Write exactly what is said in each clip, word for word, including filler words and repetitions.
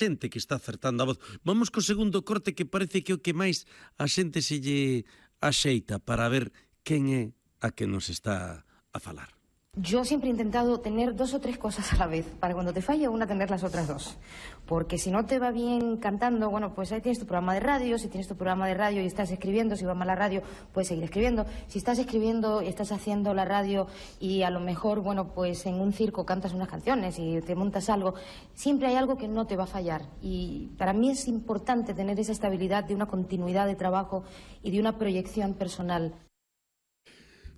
xente que está acertando a voz. Vamos co segundo corte que parece que o que máis a xente se lle axeita para ver quen é a que nos está a falar. Yo siempre he intentado tener dos o tres cosas a la vez, para cuando te falla una tener las otras dos. Porque si no te va bien cantando, bueno, pues ahí tienes tu programa de radio, si tienes tu programa de radio y estás escribiendo, si va mal la radio, puedes seguir escribiendo. Si estás escribiendo y estás haciendo la radio y a lo mejor, bueno, pues en un circo cantas unas canciones y te montas algo, siempre hay algo que no te va a fallar. Y para mí es importante tener esa estabilidad de una continuidad de trabajo y de una proyección personal.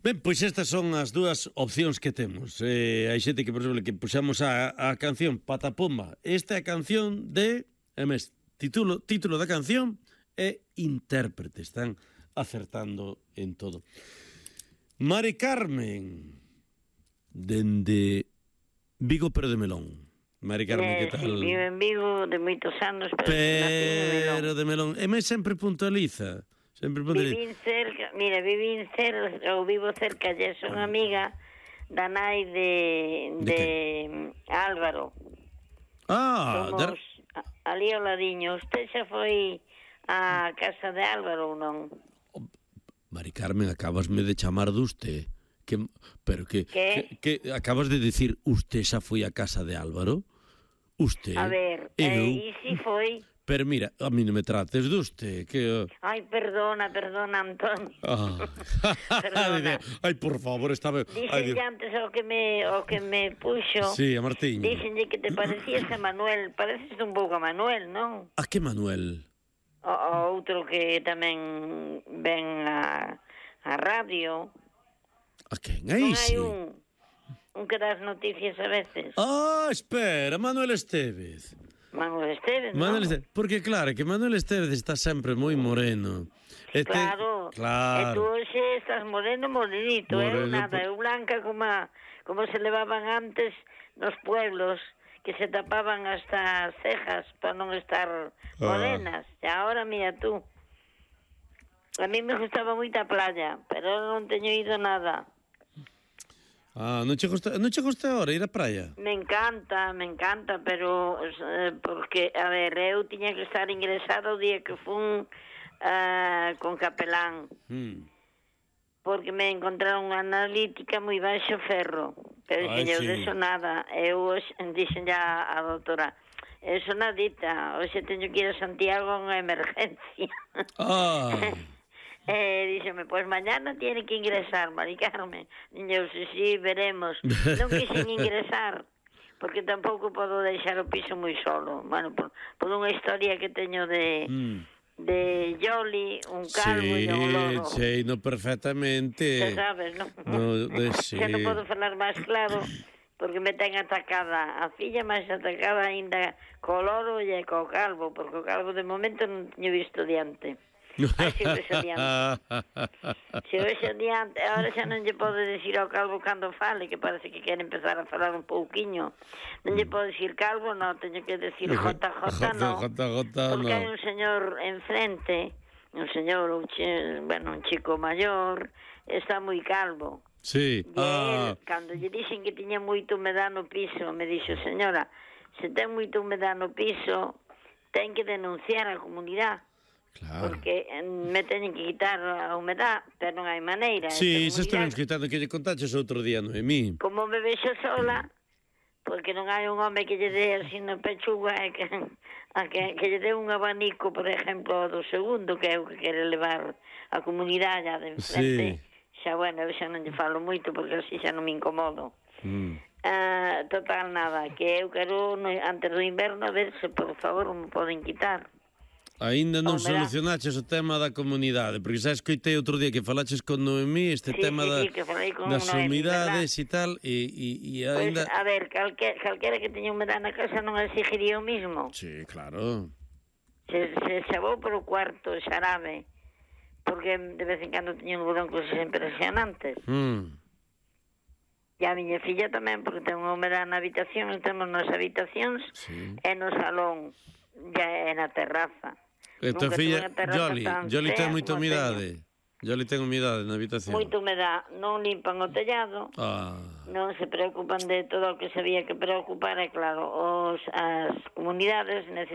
Ben, pois estas son as dúas opcións que temos. Eh, hai xente que, por exemplo, que puxamos a, a canción Patapomba. Esta é a canción de... É mes, título, título da canción é intérprete. Están acertando en todo. Mari Carmen, dende Vigo, pero de Melón. Mari Carmen, eh, que tal? Sí, vivo en Vigo de moitos anos, pero, pero de Melón. E mes sempre puntualiza. Sempre vivín cerca, mira, vivín cerca, ou vivo cerca, e son amiga da nai de, de, de Álvaro. Ah, somos dar... ali ao ladiño. Usted xa foi á casa de Álvaro ou non? Oh, Mari Carmen, acabasme de chamar de usted. Que, pero que, que, que acabas de decir usted xa foi á casa de Álvaro? Usted? A ver, eh, e si foi... Pero mira, a mí non me trates de usted, que... Ai, perdona, perdona, Antonio. Ah. Perdona. Ai, por favor, estaba... Dixenlle antes o que me o que me puxo... Sí, a Martín. Dixenlle que te parecías a Manuel. Pareces un pouco a Manuel, non? A que Manuel? O, o outro que tamén ven a, a radio. A quen? Aí sí. Non hai un, un que das noticias a veces. Ah, espera, Manuel Estevez. Manuel Estevez, Manuel non? Estevez, porque claro, que Manuel Estevez está sempre moi moreno. Este, claro, claro. E tú hoxe estás moreno, morenito, moreno, eu nada, por... eu blanca como, a, como se levaban antes nos pueblos, que se tapaban hasta as cejas para non estar morenas. Ah. E agora, mira tú, a mí me gustaba moito a playa, pero non teño ido nada. Ah, non che gusta, non che gusta ahora ir á praia? Me encanta, me encanta, pero eh, porque, a ver, eu tiña que estar ingresada o día que fun uh, con capelán. Mm. Porque me encontraron unha analítica moi baixo ferro. Pero dixen, eu sí. Deso nada. Eu dixen ya a doutora, eso nadita, hoxe teño que ir a Santiago a unha emergencia. Ah... Eh, díxeme, pois pues mañana tiene que ingresar, Mari Carmen. Eu, si, si, veremos. Non quixen ingresar, porque tampouco podo deixar o piso moi solo. Bueno, por, por unha historia que teño de... Mm. de Yoli, un calvo sí, e un loro. Sí, no perfectamente. Xa sabes, non? No, de, sí. Xa non podo falar máis claro, porque me ten atacada a filla, máis atacada ainda co loro e co calvo, porque o calvo de momento non teño visto diante. Ai, se vexo diante. Se vexo diante, agora xa non lle podo decir ao calvo cando fale, que parece que quere empezar a falar un pouquiño. Non lle podo decir calvo, non, teño que decir J J, non. Porque hai un señor enfrente, un señor, un che, bueno, un chico maior, está moi calvo. Sí. E ah. él, cando lle dixen que tiña moito humedad no piso, me dixo, señora, se ten moito humedad no piso, ten que denunciar a comunidade. Claro. Porque me teñen que quitar a humedad, pero non hai maneira. Sí, se estamos quitando que lle contaches outro día, Noemí. Como me vexo sola, porque non hai un home que lle dé así na pechuga, e que, a que, que lle dé un abanico, por exemplo, do segundo, que é o que quere levar a comunidade a de enfrente. Sí. Xa, bueno, eu xa non lle falo moito, porque así xa non me incomodo. Mm. Uh, total, nada, que eu quero, antes do inverno, a ver se, por favor, me poden quitar. Aínda non solucionaches o tema da comunidade, porque xa escoitei outro día que falaches con Noemí este sí, tema sí, da, sí, das humidades e tal, e, e, e aínda... Pues, a ver, calque, calquera que teña humedade na casa non exigiría o mismo. Sí, claro. Se, se xabou por o cuarto, xarabe, porque de vez en cando teña un algodón cosas impresionantes. Mm. E a miña filla tamén, porque ten unha humedade na habitación, temos nas habitacións sí. E no salón, e na terraza. E tua filla, Yoli, Yoli ten moita humidade. Yoli ten humidade na habitación. Moita humedade, non limpan o tellado, ah. Non se preocupan de todo o que se había que preocupar, e claro, os, as comunidades necesitan